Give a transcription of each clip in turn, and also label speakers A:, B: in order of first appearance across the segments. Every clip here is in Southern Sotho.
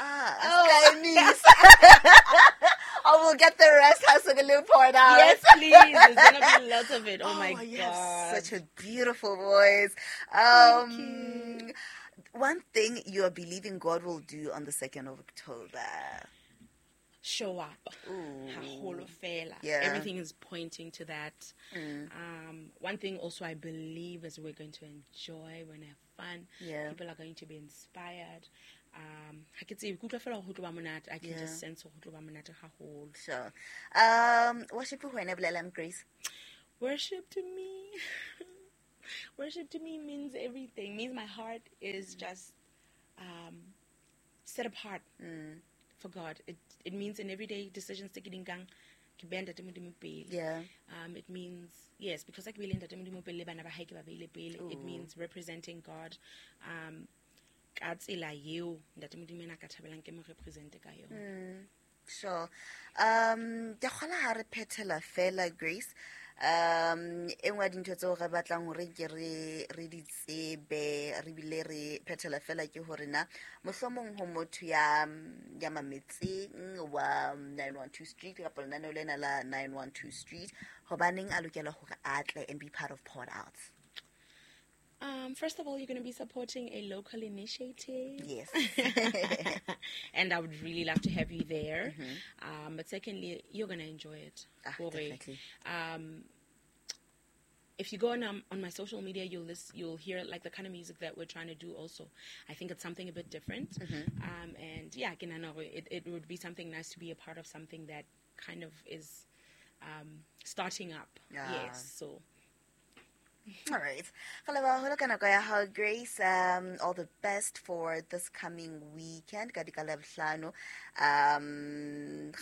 A: Ah, oh. I will get the rest has a little poured out.
B: Yes, please. There's gonna be lots of it. Oh, my
A: You
B: God.
A: have such a beautiful voice. One thing you are believing God will do on the 2nd of October.
B: Show up. Haholo fela.
A: Yeah.
B: Everything is pointing to that. One thing also I believe is we're going to enjoy, we're going to have fun.
A: Yeah.
B: People are going to be inspired. Ha ke tsebe, ke utlwa fela ho tlo ba monate. I can just sense ho tlo ba monate haholo.
A: Sure. Worship ho wena bolelang, Grace?
B: Worship to me. Worship to me means everything. Means my heart is just set apart for God. It means in everyday decisions tse ke di nkang, ke beha Ntate Modimo pele.
A: Yeah.
B: It means, yes, because I ke beile Ntate Modimo pele, le bana ba hae ke ba beile pele. It means representing God. Ka tsela eo Ntate Modimo ena a ka thabelang ke mo represente ka yona.
A: Sure. Ke kgola ha re phethela fela, Grace. E nngwe ya dintho tseo re batlang hore ke re di tsebe, re bile re phethela fela ke hore na mohlomong ho motho ya mametseng wa 912 Street kapa lenaneo lena la 912 Street, hobaneng a lokela hore a tle and be part of Poured Out?
B: First of all, you're going to be supporting a local initiative.
A: Yes.
B: And I would really love to have you there. But secondly, you're going to enjoy it. Hore,
A: Definitely.
B: If you go on my social media, you'll hear the kind of music that we're trying to do also. I think it's something a bit different. And yeah, ke nahana hore it would be something nice to be a part of something that kind of is starting up. Yes, so...
A: All right. Re leboha haholo ka nako ya hao, Grace. All the best for this coming weekend. Ka dika Labohlano.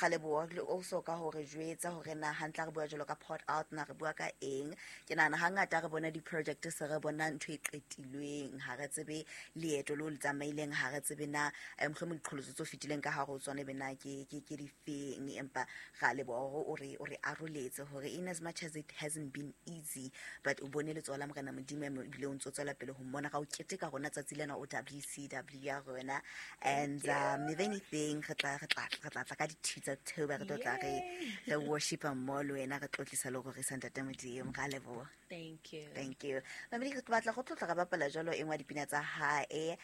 A: Re leboha le also ka hore jwetsa hore na hantle re bua jwalo ka Poured Out, na re bua ka eng. Ke nahana hangata re bona di-project se re bona ntho e qetilweng, ha re tsebe leeto leo le tsamaileng, ha re tsebe na, mohlomong diqholotso tse fetileng ka hare ho tsona ebe na ke difeng. Empa ra leboha hore o re aroletse hore in as much as it hasn't been easy, but o bone letsoho la Morena Modimo ebile o ntso tswela pele ho mmona ka o keteka rona tsatsi lena o WCW ya rona. And if anything, re tla tla ka dithuto tsa October, re tlo tla re worshipa mmoho le wena, re tlotlisa le go rorisa Ntate Modimo. Ra leboha.
B: Thank you.
A: Thank you. Mamedi, re batla go tlotla re bapala jalo e nngwe ya dipina tsa hae,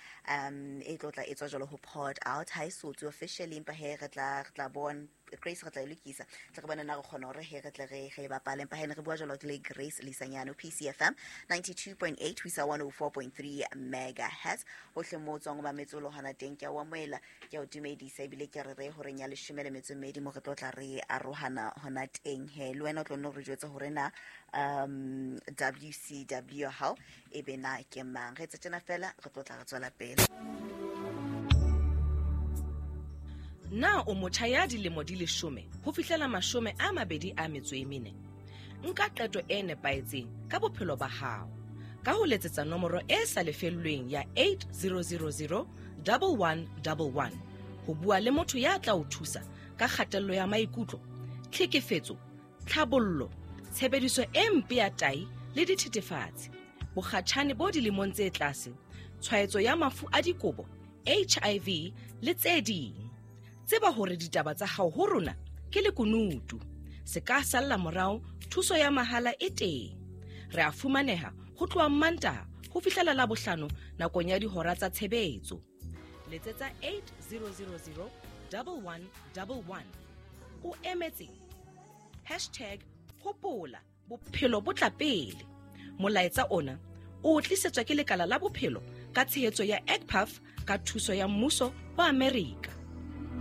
A: e tlotla e tswa jalo ho Poured Out. Ha e so tswe officially, empa he re tla bona Grace, re tla e lokisa. Tla re bona na re kgona hore he re tle re bapale. Empa he ne re bua jalo le Grace Leisanyane, PCFM 92.8 ho isa 104.3 megahertz. Hohle moo o tswang o mametse o le hona teng, ke a o amohela, ke a o dumedisa, ebile ke re re horeng ya leshome le metso e mmedi mo re tlo tla re arohana hona teng he. Le wena o tlo nno re jwetse hore na, WCW hao e be na ke mang. Re etse tjena fela, re tlo tla re tswela pele.
C: Na o motjha ya dilemo di leshome ho fihlela 24? Nka qeto e nepahetseng ka bophelo ba hao ka ho letsetsa nomoro e sa lefellweng ya 8000 1111 ho bua le motho ya tla o thusa ka kgatello ya maikutlo, tlhekefetso, tlhabollo, tshebediso e mpe ya tahi le dithethefatsi, bokgatjhane bo dilemong tse tlase, tshwaetso ya mafu a dikobo, HIV le tse ding. Tseba hore ditaba tsa hao ho rona ke lekunutu. Se ka salla morao, thuso ya mahala e teng. Re a fumaneha ho tloha Mantaha ho fihlela Labohlano nakong ya dihora tsa tshebetso. Letsetsa 8000 1111. O emetse hashtag hopola bophelo bo tla pele. Molaetsa ona o tlisetswa ke lekala la bophelo ka tshehetso ya EGPAF ka thuso ya mmuso wa Amerika.